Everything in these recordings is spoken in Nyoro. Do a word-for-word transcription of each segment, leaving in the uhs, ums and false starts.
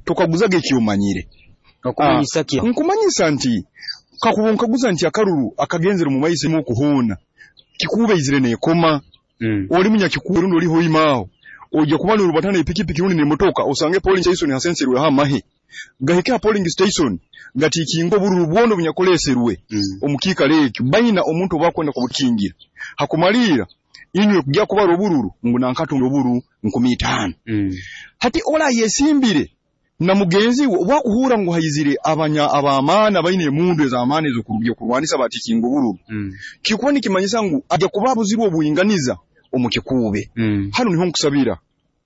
Tokaguzaga ekyomanyire. Okumanyisa ki? Nkumanyisa nti kakuba onkaguza nti akaruru akagenzere omu maiso okuhoona, Kikuube izire neekoma. Mm. Oli munyakikuube rundi oli Hoima aho, ojja kuba norubatana n'epikipiki rundi n'emotoka, osange polling station hasenserweho amahe, gahike ha polling station gatiikinge obururu bwona obunyakuleeserwe Mm. omu kiikaro ekyo, baina omuntu ou bakwenda kubutikingira. Hakumaliira inywe kugya kubara obururu ngu nanka atungire obururu nkumi itaano. Mm. Hati oli ayesimbire na mugenzi we obu akuhuura ngu haizire abanya ab'amaani abaina emundu ez'amaani ez'okurwanisa batiikinga obururu, Mm. kikuba nikimanyisa ngu ajja kuba abuzirwe obwinganiza omu Kikuube. Mm. Hanu niho nkusabira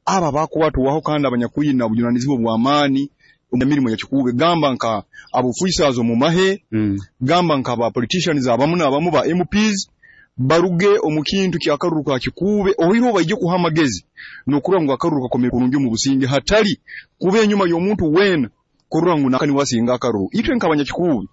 abo abakwatwaho kandi abanyakwina obujunaanizibwa obw'amaani omu mirimo ya Kikuube, gamba nka aba officers omu mahe, Mm. gamba nka ba politicians abamu n'abamu ba M Ps, baruge omu kintu ky'akaruru ka Kikuube, oihireho baije kuha amagezi n'okurora ngu akaruru kakomere kurungi omu businge, hatali kuba enyuma y'omuntu weena kurora ngu nanka niwe asinga akaruru. Itwe nk'abanyakikuube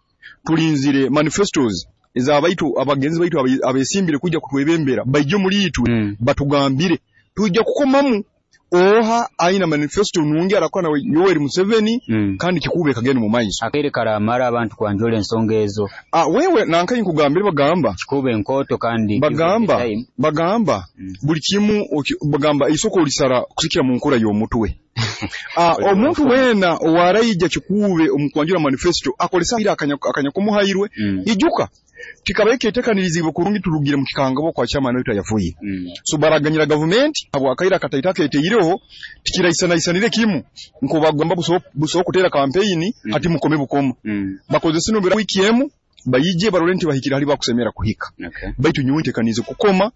tulinzire manifestos ez'abaitu abagenzi baitu abesimbire kwija kutwebembera, baije omuli itwe Mm. batugambire, twija kukomamu oha aina manifesto nungi arakora na Yoweri Museveni Mm. kandi Kikuube ekagenda omu maiso. Akaire karamara abantu kwanjura ensonga ezo. Ah, wewe nanka nkugambire bagamba Kikuube nkooto kandi bagamba time. bagamba Mm. buli kimu oki- bagamba isoko olisara kusikira mu nkura y'omutwe. Ah, omuntu weena owaraija Kikuube omu kwanjura manifesto akolesa akanya akanya kumuhairwe. Mm. Ijuka kikabaye ketekaniriziibwe kurungi, turugire mu kikangabwa kwa chairman waitu ayafuye. Mm. So baraganyira gavumenti habwakaire akataito aketeireho tikiraisanaisanire kimu nkobagamba buso buso kutera kampeyini. Mm. Hati mukome bukoma. Mm. Bakozese nobera wiki emu, bayije barole nti bahikire hali bakusemera kuhika. Okay. Baitu nyowe ntekaniize kukoma,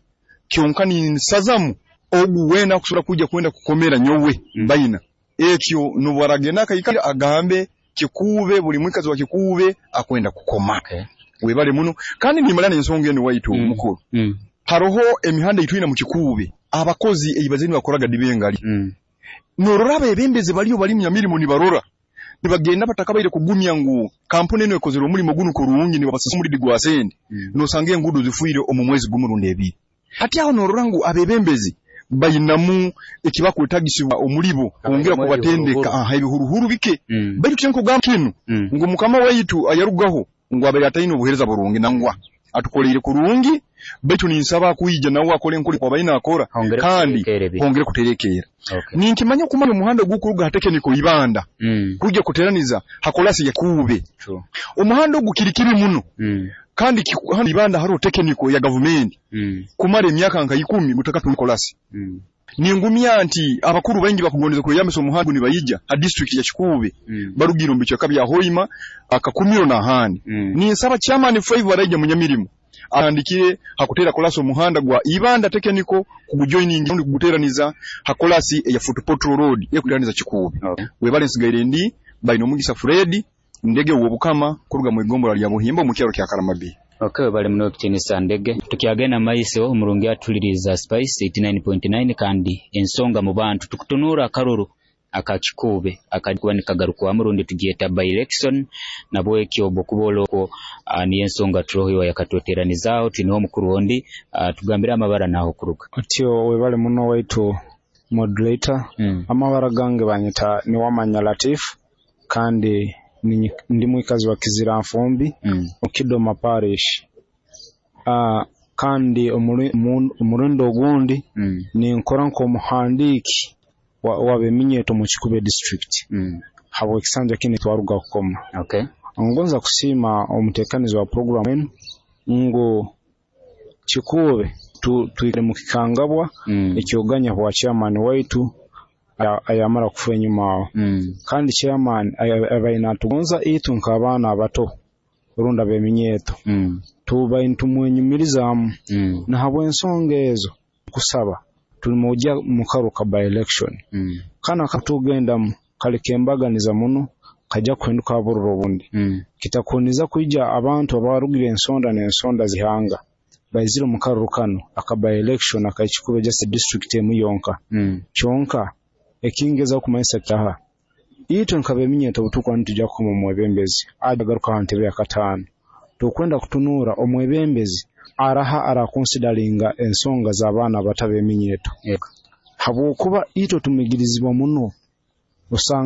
kyonka ninsazamu ogu weena akusobora kwijja kwenda kukomera nyowe. Mm. Baina ekyo nobu aragenda akaikara agambe Kikuube, buli mwikazi wa Kikuube akwenda kukoma. Okay. Webale muno, kandi nimala n'ensonga eno waitu. Mm. Mukuru, Mm. haroho emihanda eitwina mu Kikuube, abakozi eibaze nibakoraga dibengali. Mm. Norora abebembezi baliyo bali munyamirimo, nibarora nibagenda batakabaire kugumya ngu kampuni eno ekozere omulimo gunu kurungi, nibabasasa omulidi gwa sente. Mm. Nosanga enguudo zifuire omu mwezi gumu rundi ebiri. Hati aho norora ngu abebembezi bainamu ekibakwetagisibwa omulibo kwongera Abainamu kubatendeka. ebihuruhuru. Aha, ebihuruhuru bike. Mm. Baitu kyenkugamba kinu Mm. ngu mukama waitu ayarugaho ngu abaire ataine obuheereza burungi, nangwa atukoleire kurungi, baitu ninsaba kwija nawe akole enkora kwabaine akora. Hongere kandi kuterekeera ebintu. Hongere kuterekeera. Okay. Ninkimanya okumanya omuhanda ogukuruga ha Technical Ibanda Mm. kujja kuteraniza hakolasi ya Kuube. True. Omuhanda ogu kiri kibi muno. Mm. Kandi kiku- hano Ibanda hariho technical ya gavumenti, Mm. kumara emyaka nka ikumi gutaka kolasi. Mm. Ningumya nti abakuru baingi bakugondeza kweyambisa omuhanda nibayija ha district ya Kikuube, Mm. barugire omu bicweka bya Hoima, Akakumiro n'ahandi. Mm. Ninsaba chairman five araija munyamirimo atandikire hakutera kolasi omuhanda gwa Ibanda Technical kugujoining rundi kuguteraniza hakolasi eya Fort Portal Road ekuteraniza Kikuube. Okay. Webale, nsigaire ndi baina omugisa Fred Ndege w'Obukama kuruga mu igombolola lya Buhimba omu kyaro kya Karamabi. Okay, bali muno ekitiinisa Ndege. Tukyagenda maiso, omurungi atuliriza Spice eighty-nine point nine kandi ensonga mu bantu, tukutunuura akaruru aka Kikuube akakuba nikagarukwamu rundi tugyeta by election, nabwekyo obwokuba olokwo uh, niyo ensonga turoho iwe yakatweteranizaaho. Twineho omukuru ondi, uh, tugambire amabara naho kuruga. Otyo, webale muno waitu moderator. mm. Amabara gange banyita Niwamanya Latif, kandi ninyi- ndi mwikazi wa Kizira Nfumbi Mm. Okidoma Parish, uh, kandi omuri- omu- omurundi ogundi Mm. ninkora nk'omuhandiiki wa- w'abeminyeto mu Kikube District Mm. habw'ekisanja kini twaruga kukoma. Okay. Ngonza kusiima omuteekanizi wa program enu ngu Kikuube tu- twikire mu kikangabwa Mm. ekyoganya bwa chairman waitu aya- ayamara kufa enyuma aho. Mm. Kandi chairman aya- abaire natugonza itwe nk'abaana abato rundi ab'eminyeeto, Mm. tubaire nitumwenyumirizaamu. Mm. Nahabw'ensonga ezo kusaba tulimujja mu karu ka by election. Mm. Kana katugendamu kali kembaganiza muno, kajja kuhinduka abururu obundi. Mm. Kitakuniza kwija abantu abarugire ensonda n'ensonda zihanga baizire omu karuru kanu aka by election ak'Ekikube, just district emu yonka. Mm. Kyonka ekingeza kumanyisa kyaha, itwe nk'abeminyeto obutukuba nitujja kukoma omwebembezi agaruka aha ntebe ya kataano, tukwenda kutunuura omwebembezi araha arakonsidaringa ensonga z'abaana abato ab'eminyeto, Yego. habwokuba itwe tumigirizibwa muno osanga.